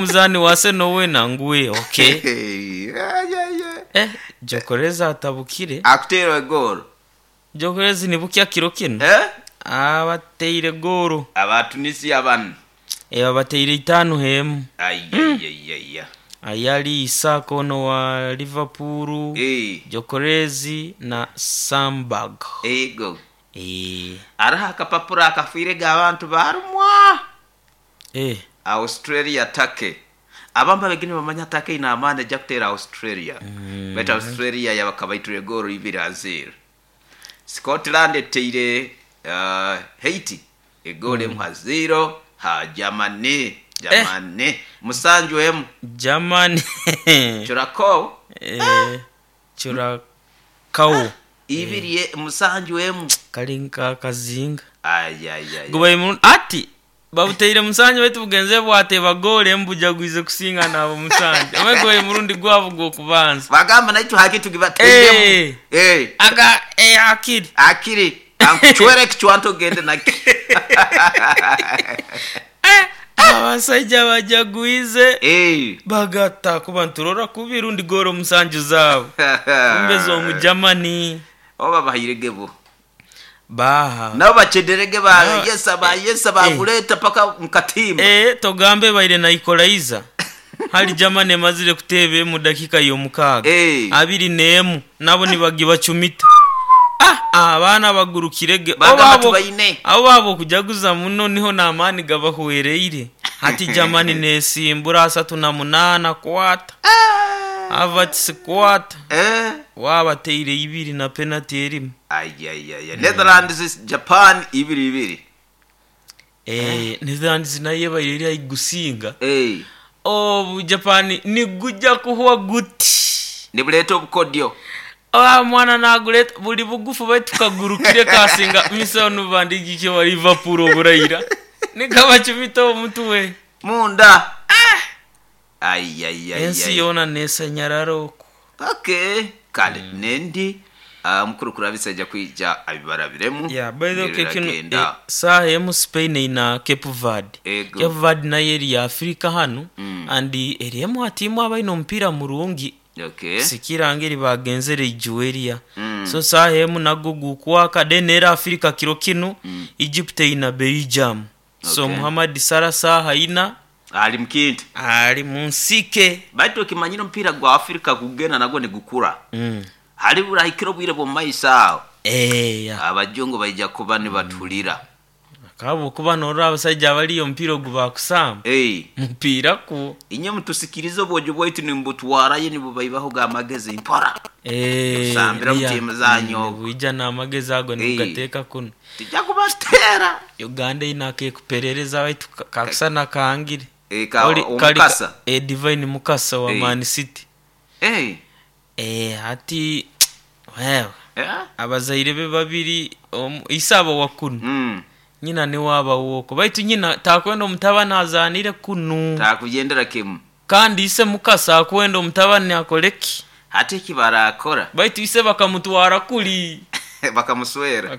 Omuzaani wa Arsenal weena ngwe ok. Eh, Gyokerez atabukire. Akuteire egoolo. Gyokerez ni bukya kiro kino? Eh? Abateire goolo. Aba Tunisia bano. Eh, babateire itaanu h'emu. Aiyaiyaiyaiya. Ayali Isak ono wa Liverpool, Eh. Gyokerez na Sandberg. Ego. Eh. Aroho akapapura akafiirege abantu baarumwa. Eh. Australia Turkey. Abamu babegire nibamanya Turkey eine amaani ejja kuteera Australia. Baitu Australia yabakabaiture goolo ibiri ha zeero. Scotland eteire Haiti egoolo emu ha zeero. Ha Germany, Germany musanju emu. Germany. Curacao. Eh, Curacao. Ibiri musanju emu. Kali nka akazinga. Ayayaya. Gubaire murungi ati babuteire musanju baitu bugenze bwateeba goolo emu bujagwize kusinga naabo musanju. Omanyi gubaire murundi gwabo gw'okubanza. Bagamba naitwe haki tugibateiremu. Eh. Eh. Aga eh, akiri. Akiri. Ankucwera ekicwanto ogende nakyo. Abasaija bajagwize. Eh. Bagata kuba nturora kubi rundi goolo musanju zaabo. Kumbe z'omu Germany. Oba bahairege bo. Baha. Nabo bacederege ba No. yesa ba yesa bakuleta paka mukatimba. Eh, togambe baire na equalizer. Hali Germany emazire kuteeba emu dakika y'omukaaga. Eh. Abiri n'emu nabo nibagibacumita. Ah, abaana bagurukirege. Bagamba Abo tubaine. abo baabo okujaguza muno niho n'amaani gabahwereire. Hati Germany nesimbura 38 kwata. Havertz kwata. Eh. Wabateire ibiri na penalty erimu. Ayayaya. Netherlands Japan ibiri ibiri. Eh, Netherlands nayo ebaire eri aigusinga. Eh. Obu Japan nigujja kuhwa guti. Nibuleeta obukodyo. Ah, mwana naguleta buli bugufu baitu kagurukire kasinga misano bandigike wa Liverpool oburaira. Nikabacumita omutwe. Munda. Ayayaya. Ensi yoona nesanyarara okwo. Okay. Kale nendi mukuru kurabisa ajja kwija abibarabiremu. Yeah, by the way, Ngeri kino agenda. saaha emu Spain eina Cape Verde. Ego. Cape Verde nayo eri ya Africa hanu and eriemu atiimu abaine omupiira murungi. Okay. Sikira ngeri bagenzere Nigeria. So saaha emu nagwo gukwaka then era Africa kiro kinu Egypt eina Belgium. So Okay. Muhammad Salah saaha ina Ali mukintu. ali munsike. Baitu okimanyire omupiira gwa Africa gugenda nagwo nigukura. Hali burahikira obwire bw'omumaiso aho. Eh, yeah. Abajungu baija kuba nibatulira. Kabo kuba norora abasajja abaliyo omupiira ogu bakusamba. Eh. Mupiira ku. Inye mutusikirize obwojo bwaitu nimubutwarayo nibubaibaho gamagezi mpora. Eh, Kusambira mu yeah. tiimu zanyu okwo. Bwija n'amagezi ago nibugateeka kuno. Tijja kubateera. Uganda eine akekuperereza baitu kakusana kangire. Eh, ka Omukasa. Eh, Divine Mukasa wa Eh. Man City. Eh. Eh, hati wewe Eh? abazaire be babiri isaaba wa kuno. Nyina niwe aba woko baitu nyina takwenda omutabani azaanire kunu. Takugendera kimu. Kandi ise Mukasa akwenda omutabani akoleki. Hati eki barakora. Baitu ise bakamutwara kuli. Bakamuswera.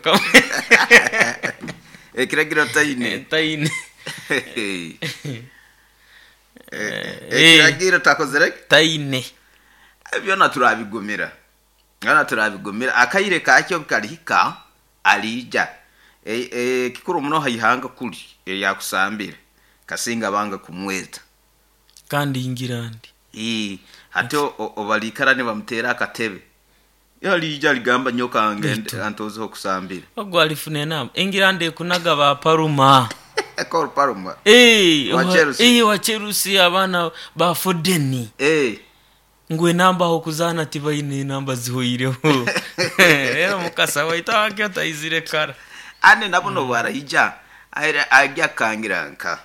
Ekiragiro taine. Taine. Ekiragiro takozere Taine. Byona turabigumira. Byona turabigumira. Akaire kakyo kalihika alija. Kikuru muno haihanga kuli eryakusambira. Kasinga banga kumweta. Kandi Ingilandi. Hati obalikara nibamutera akatebe. Yalija ligamba nyoka ngende antozeho kusambira. Ogwo alifuna enamba. Ingilandi ekunaga ba Paruma. Cole Palmer. Eh, Wa Chelsea. wa Chelsea abaana ba Foden. Eh. Ngu enamba aho kuzaana tibaine enamba zihoireho. Rero Mukasa waitu akyo taizire kara. Ane nabo no barahija. Aira ajya kangira nka.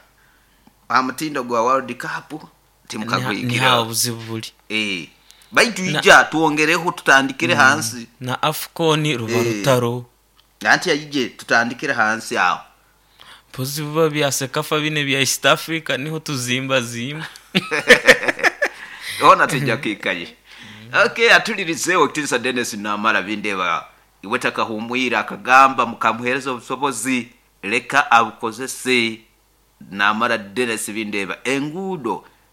Amutindo gwa World Cup timukagwikira. Ni hawo obuzibu buli. Eh. Baitu ija tuongereho tutandikire hansi. Na AFCON ruba Eh. rutaro. Nanti yayije tutandikire hansi aho. Mpozi biba bya Sekafa bine bya East Africa niho tuzimba zimba. Ona tujja kwikaye. Okay, atulirizeewo Ekitiinisa Dennis Namara bindeba iwe takahumwira akagamba mukamuheereza obusobozi leka abukozese. Namara Dennis bindeba enguudo